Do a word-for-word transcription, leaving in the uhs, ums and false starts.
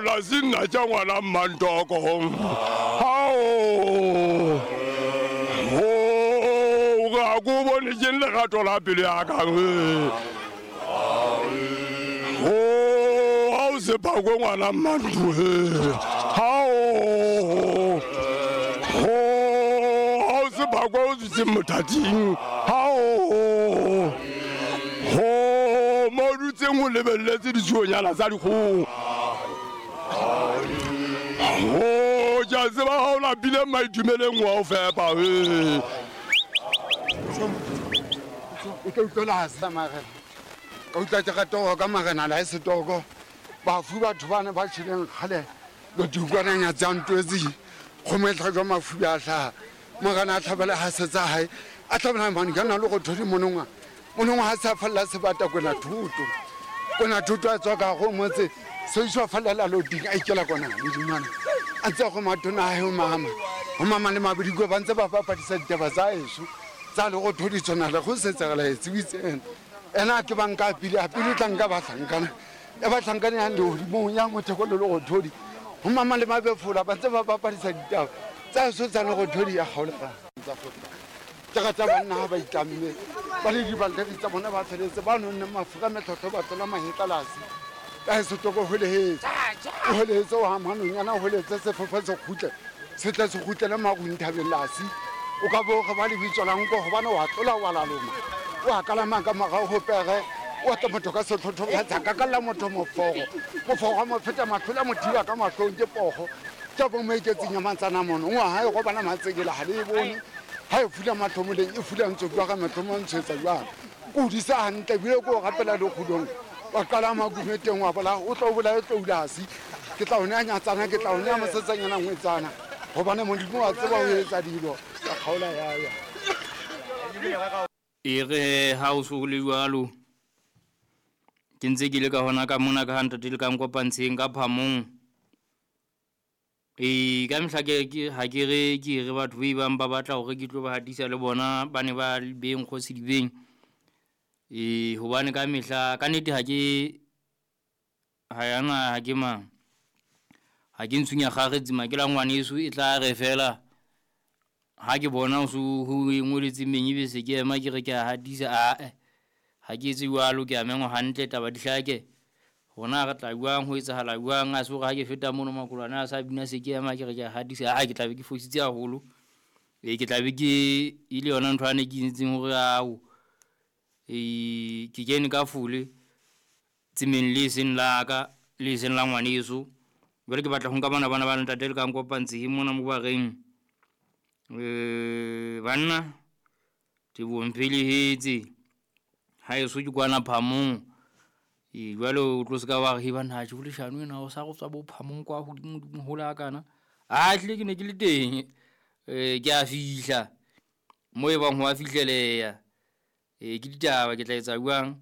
La sinna tša ngwana mmantoko. Hao. Oh, ga ko bone ke lerato la pelo ya ka. Oh, ha o se phakwe ngwana mmantu. Hao. Oh, ha o se phakwe o dutse mothating. Hao. Oh, mo dutseng o lebelletse ditsuonyana tsa dikgoho. Oh, ke a tseba ha o lapile maitumeleng wa o fepa. O tla utlwela sa marena. Ka utlwa ke rata ho ka marena la setoko. Bafu batho bana ba tjheleng kgale lo dikwananya tsa ntwetsi. Kgomo e tlhajwa mafu a hlaha. Morena a tlhabela ha se tsa hae. A tlhabela mane ka nna le go thodi monongwa. Monongwa ha sa falla sebata kwena thuto. Kwena thuto a tswa ka go motse. Se iswa fallela loading a ikela kona modimana. A ntse go matona a ho mama. Ho mama le mabidiko ba ntse ba bapadisa ditaba tsa eso. Tsa le go thodi tsona le go setsegela etse itse ena. Ena ke banka pele a pele tla nka ba hlankana. E ba hlankana ya lehodimong ya motheko le go thodi. Ho mama le mabefola ba ntse ba bapadisa ditaba tsa eso tsa le go thodi ya kgaolega. Tsa go ke rata banna ha ba itlamme. Ba le dibalteri tsa bona ba feletse ba nonne mafuka metlotlo ba tlola mahetla lasi. Ka setoko holehetse. O holehetse o ha manonyana o holehetse sefofo se kgutle. Se tla se kgutlele marung thabeng lasi. O ka bo re ba le bitso la nko hobane wa tlola wa laloma. Wa kalama ka morao ho pere. Wa tla motho ka setlhotlho ka tsaka ka la motho mofogo. Mofogo mo feta matlhola mothiba ka mahlong ke pogo. Tsa bo mo iketseng ya mantsana mono. Ngwa hae go bana matsekela ha le bone. Ha e fula matlhomoleng e fula ntse jwa ka matlhomo ntshetsa jwang. Ko di sa hantle bile ko rapela le kgudong. Wa qala makumeteng wa bola o tlo bolaye tloulasi. Ke tla o nea nyatsana ke tla o nea mosetsanyana ngwetsana. Hobane Modimo wa tseba ho etsa dilo. Ka kgaola ya ya. E re ha o so le jwalo. Ke ntse ke le ka hona ka mona ka ntate le ka nkopantsheng ka phamong. E ka mehla ke ke ha ke re ke re batho ba bang ba batla hore ke tlo ba hatisa le bona ba ne ba beng kgosi dibeng. E hobane ka mehla ka nnete ha ke ha yana ha ke mang ha ke ntshunya kgaretse ke la ngwaneso e tla re fela ha ke bona o so ho ngoletse meng ebe se ke ema ke re ke a hatisa a ha ke etse jwalo ke a mengwa hantle taba di hlake hona re tla jwang ho etsahala jwang a se hore ha ke feta mono makolwane a sa bina se ke ema ke re ke a hatisa a ke tla be ke fositse haholo e ke tla be ke ile yona ntho ane ke itseng hore ao e ke kene ka fule tsemeng le seng la ka le seng la ngwaneso. Jwale ke batla ho nka bana bana ba ntate le ka nkopantse mona mo ba reng eh banna tebong phelehetse ha eso ke kwana phamong. E jwale o tlo se ka wa re bana ha tjho leshano ena o sa go tswa bo phamong kwa hodimo hodimo hola kana a tle ke ne ke le teng eh ke a fihla mo e bang ho a fihleleya. E ke ditaba ke tla etsa jwang